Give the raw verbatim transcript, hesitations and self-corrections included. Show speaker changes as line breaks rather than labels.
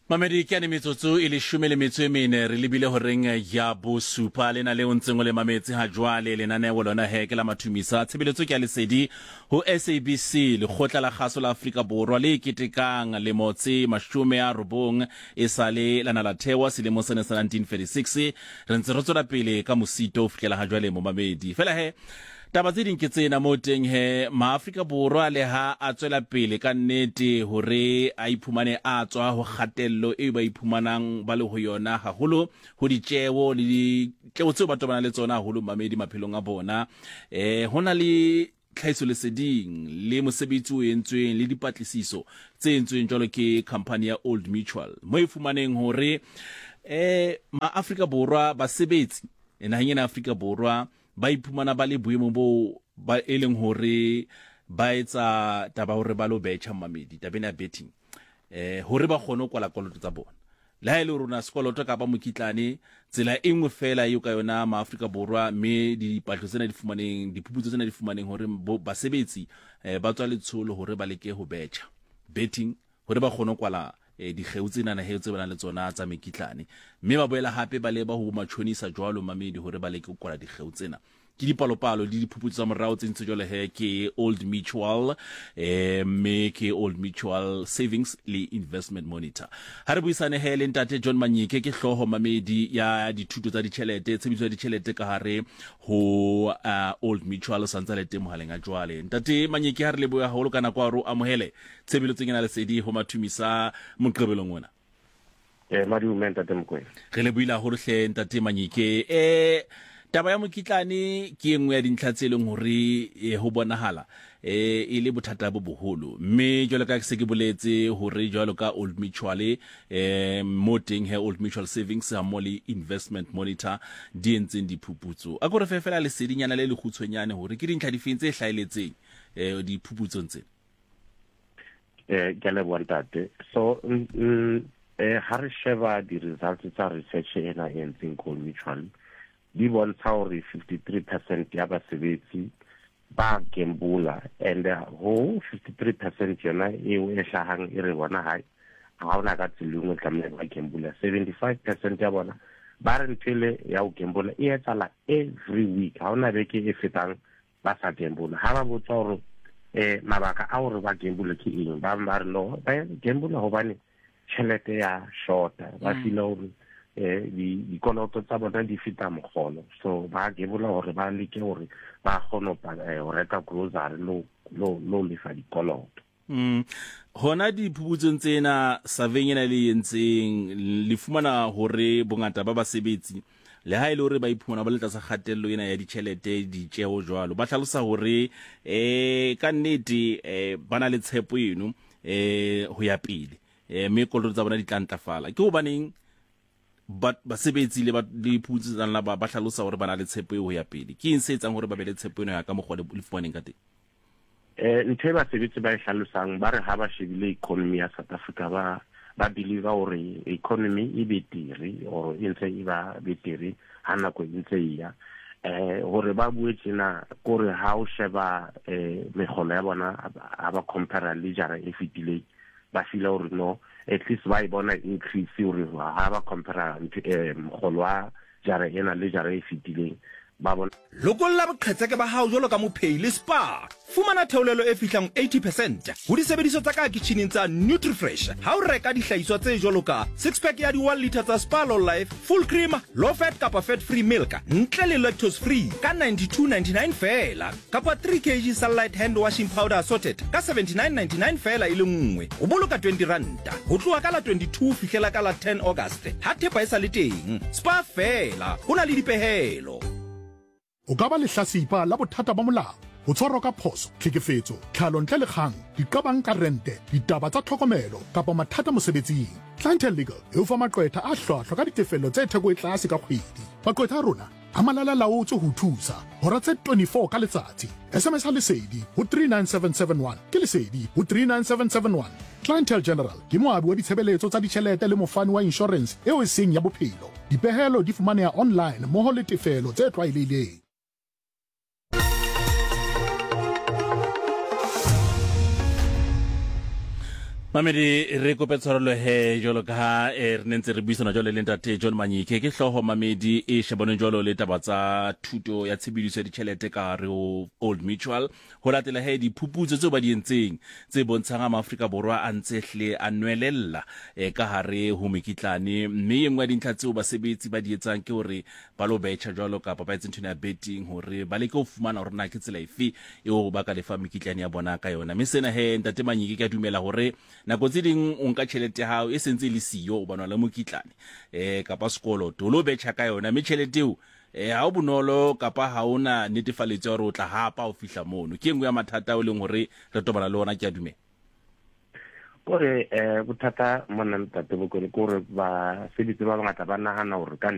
Mamedi ke ane metsotso e leshome le metso e mene re lebile horeng ya bosupa lena le o ntseng o le mametse ha jwale lenaneo lona he ke la mathumisa tshebeletso ke ya lesedi ho S A B C lekgotla la kgaso la Afrika Borwa le ketekang lemo tse mashome a robong e sale lana la thewa selemo sena sa nineteen thirty-six re ntse re tswela pele ka mosito ho fihlela ha jwale momamedi fela he taba tse ding ke tsena mo teng he maAfrika Borwa le ha a tswela pele ka nnete hore a iphumane a tswa ho kgatello e ba iphumanang ba le ho yona haholo ho ditjeo le ditjeo tseo ba tobana le tsona haholo mamedi maphelong a bona eh hona le tlhahiso leseding le mosebetsi o entsweng le dipatlisiso tse entsweng jwalo ke company ya Old Mutual mo e fumaneng hore eh maAfrika Borwa basebetsi naheng ena Afrika Borwa ba iphumana ba le boemo bo ba e leng hore ba etsa taba hore ba lo betjha mamedi tabeng ya betting eh hore ba kgone ho kwala koloto tsa bona le ha e le rona sekoloto kapa mokitlane tsela e nngwe fela eo ka yona maAfrika Borwa mme dipatlo tsena di fumaneng diphuputso tsena di fumaneng hore basebetsi ba tswa letsholo hore ba leke ho betjha betting hore ba kgone ho kwala dikgeo tsena na he tse ba nang le tsona tsa mekitlane mme ba boela hape ba leba ho matjhonisa jwalo mamedi hore ba leke ho kwala dikgeo tsena ke dipalopalo le diphuputso tsa morao tse ntse jwale he ke Old Mutual eh mme ke Old Mutual Savings le Investment Monitor ha re buisane he le ntate John Manyike ke hlooho mamedi ya dithuto tsa ditjhelete tshebediso ya ditjhelete ka hare ho uh, Old Mutual santsa le teng mohaleng a jwale ntate Manyike ha re leboha haholo ka nako ya ro amohele tshebeletsong ena lesedi ho mathumisa moqebelong ona
eh madume ntate Mokoena
re le buile haholo hle ntate Manyike eh taba ya mokitlane ke engwe ya dintlha tse leng hore ho bonahala eh e le bothata bo boholo mme jwalo ka se ke boletse hore jwalo ka Old Mutual eh mo teng he Old Mutual Savings ha mo le Investment Monitor di entseng diphuputso a ko re fela lesedinyana le lekgutshwenyane hore ke dintlha difeng tse hlaeletseng eh diphuputsong tsena
eh ke leboha ntate so eh ha re sheba di results tsa research ena e entseng Old Mutual di bontsha hore fifty-three percent ya basebetsi ba gambula and ho fifty-three percent yona eo e hlahang e re bona ha ha ona ka tsela engwe tlamehile ba gambula seventy-five percent ya bona ba re ntho ele ya ho gambula e etsahala every week ha ona beke e fetang ba sa gambula ha ba botsa hore eh mabaka a hore ba gambula ke eng ba ba re no ba gambula hobane tjhelete ya shorta ba feel hore eh di dikoloto tsa bona di feta mogolo so ba gebola hore ba leke hore ba kgone ho reka grocery lo lo lo lefa dikoloto
mm hona diphuputsong tsena survey ena le entseng le fumana hore bongata ba basebetsi le ha ile hore ba iphumana ba le tlasa kgatello ena ya ditjhelete ditjeo jwalo ba hlalosa hore eh ka nnete eh ba na le tshepo eno eh ho ya pele eh mme koloto tsa bona di tla ntlafala ke hobaneng ba basebetsi le ba le phutse tsa ba ba hlalosa hore ba na le tshepo eo ho ya pele ke eng se etsang hore ba be le tshepo eno ya ka mokgwa le fumaneng ka teng
eh ntho e basebetsi ba e hlalosang ba re ha ba shebile economy ya South Africa ba ba believe hore economy e betere or e ntse e ba betere ha nako e ntse e ya eh hore ba bue tjena kore ha o sheba eh mekgolo ya bona ha ba compare le jara e fetileng ba feel hore no at least ba e bona increase hore ha ba compare eh mokgolo wa jara ena le jara e fetileng ba bona
lokolla boqhetseke ba hao jwalo ka mophei le Spa fumana theolelo e fihlang eighty percent ho disebediswa tsa ka kitcheneng tsa Nutrifresh ha o reka dihlahiswa tse jwalo ka six pack ya di one liter tsa Spa Low Life full cream low fat kapa fat free milk ntle le lactose free ka ninety-two ninety-nine feela kapa three kilograms Sunlight hand washing powder assorted ka seventy-nine ninety-nine feela e le nngwe o boloka twenty ranta ho tloha ka la twenty-two fihlela ka la ten August ha thepa e sa le teng Spa feela ho na le dipehelo
O ka ba lehlasipa la bothata ba molao ho tshwarwa ka phoso tlhekefetso tlhalo ntle le kgang diqabang ka rente ditaba tsa tlhokomelo kapa mathata mosebetsing Clientele Legal e o fa maqwetha a hlwahlwa ka ditefello tse theko e tlase ka kgwedi maqwetha a rona a malala laotswe ho thusa hora tse twenty-four ka letsatsi S M S ha lesedi ho three nine seven seven one ke lesedi ho three nine seven seven one Clientele General ke moabi wa ditshebeletso tsa ditjhelete le mofani wa insurance eo e seng ya bophelo dipehelo di fumaneha online mmoho le tefelo tse tlwaelehileng
Mamedi, re kope tshwarelo he jwalo ka ha eh, re ne ntse re buisana jwalo le ntate John Manyike. Ke hlooho mamedi e shebaneng jwalo le taba tsa thuto ya tshebediso ya ditjhelete ka hare ho Old Mutual. Ho latela he diphuputso tseo ba di entseng tse bontshang ha Maafrika Borwa a ntse hle a nwelella eh, ka hare ho mekitlane, mme e nngwe ya dintlha tseo basebetsi ba di etsang ke hore ba lo betjha jwalo kapa ba etse nthwena ya betting hore ba leke ho fumana hore na ke tsela efe eo ba ka lefa mekitlane ya bona ka yona. Mme sena he ntate Manyike, ke a dumela hore nako tse ding o nka tjhelete ya hao e sentse e le siyo o banwa le mokitlane eh kapa sekoloto, o lo betjha ka yona, mme tjhelete eo eh ha o bonolo kapa ha ona netefaletso ya hore o tla hapa o fihla mono. Ke e nngwe ya mathata ao e leng hore re tobana le ona, ke a dumela.
Kore eh bothata mona, ntate Bokone, ke hore basebetsi ba bangata ba nahana hore ka